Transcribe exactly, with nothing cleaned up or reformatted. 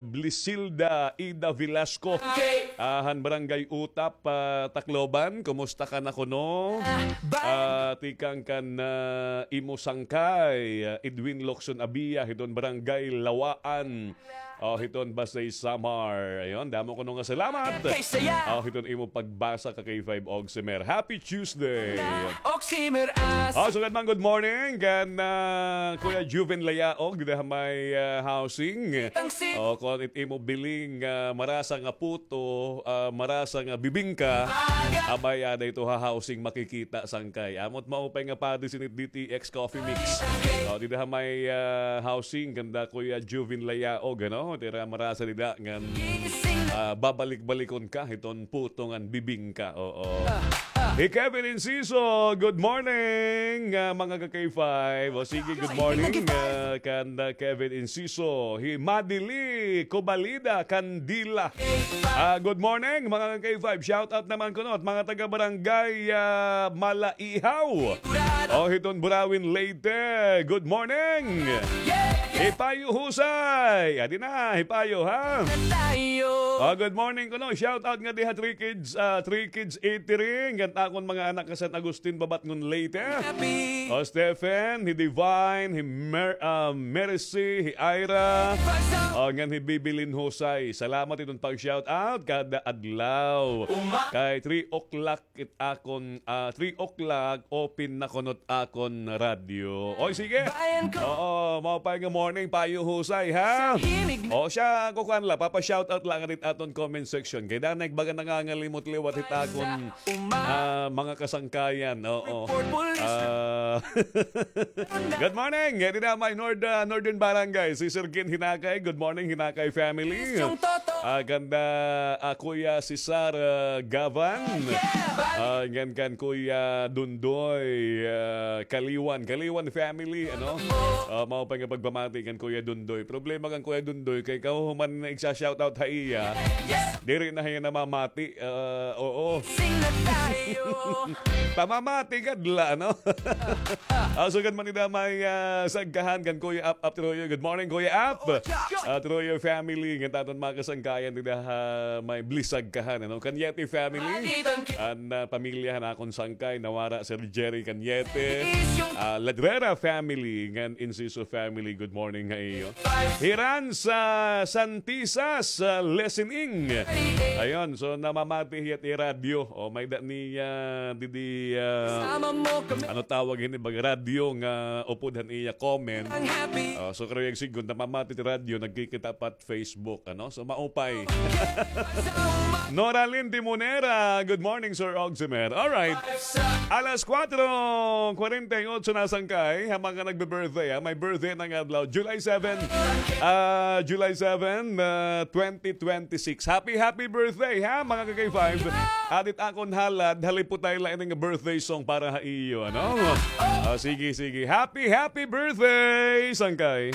Blisilda Ida Velasco. Ah, han Barangay Utap, ah, Tacloban. Kumusta ka na kuno? Ah, tikang kan, ah, imo sangkay, ah, Edwin Locson Abia, hiton Barangay Lawaan. Oh, hiton Basey Samar. Ayon, damo kuno nga salamat. Oh, hiton imo pagbasa ka K five Oximer. Happy Tuesday. Oximer as. Oh, sugad man, good morning kan, ah, Kuya Juven Layaog, dida ha may, ah, housing. O, kon it imo biling, ah, marasa nga puto, ah, marasa nga bibingka, abay, ada ito ha housing makikita, sangkay. Amo it maupay nga padi sinit D T X Coffee Mix. O, dida ha may, ah, housing, kanda Kuya Juvin Layaog, ano? Tira marasa dida ngan, ah, babalik-balikon ka hiton puto ngan bibingka. Oo. Hi Kevin Inciso, good morning, ah, mga ka-K five. O sige, good morning, ah, kanda Kevin Inciso. Hi Madili Cobalida Candila. Ah, good morning, mga ka-K five. Shout out naman kuno it mga taga Barangay, ah, Malaihaw. O, hiton Burawin, Leyte. Good morning. Hi Payo Husay. Adi na, hi Payo, ha? O, good morning kuno. Shout out ngadi ha Three Kids, ah, Three Kids Eatery. Ngan akon mga anak ha San Agustin, Babatngon, Leyte. O, Stephen, hi Divine, hi Mer-, ah, Mercy, hi Ira. O, ngan hi Bibilin Husay. Salamat iton pag-shout out kada adlaw. Kay three o'clock it akon, ah, three o'clock, open na kuno it akon radyo. Oy, sige. Oo, maupay nga morning, Payo Husay, ha? O siya, kukuan la, papa-shout out la ngadit aton comment section. Kay danay baga nangangalimot liwat hit akon, ah, mga kasangkayan. Oo. Ah, good morning. Dida ha may Nord-, ah, Northern Barangay. Si Sir Gin Hinakay. Good morning, Hinakay family. Ah, kanda, ah, Kuya Cesar, ah, Gavan. Ah, ngan kan Kuya Dundoy, ah, Kaliwan. Kaliwan family, ano? Ah, maupay nga pagpamati kan Kuya Dundoy. Problema kan Kuya Dundoy, kay kahuman na igsa-shoutout ha iya. Diri na hiya namamati. Ah, oo. Pamamati gad la, no? Ah, sugad man dida ha may, ah, Sagkahan kan Kuya Ap, Ap Troyo. Good morning, Kuya Ap. Ah, Troyo family, ngan aton mga kasangkayan dida ha may Blisagkahan, ano? Cañete family. An, ah, pamilya han akon sangkay, nawara, Sir Jerry Cañete. Ah, Ladrera family, ngan Inciso family. Good morning ha iyo. Hiran sa Santisas, ah, listening. Ayon, so namamati hiya it radyo. O, may-ada niya didi, ah, ano tawag hini, baga radyo nga upod han iya comment. Ah, so, karuyag sidngon, namamati it radyo, nagkikita pa it Facebook, ano? So, maupay. Noralyn Timonera, good morning, Sir Oximer. All right. Alas kuwatro kwarenta y otso na, sangkay, ha mga nagbe-birthday, ha? May birthday na nga adlaw, July seven. Ah, July seven, ah, twenty twenty-six. Happy, happy birthday, ha, mga ka-K five. Adi it akon halad, haliputay la ini nga birthday song para ha iyo, ano? Ah, sige, sige. Happy, happy birthday, sangkay.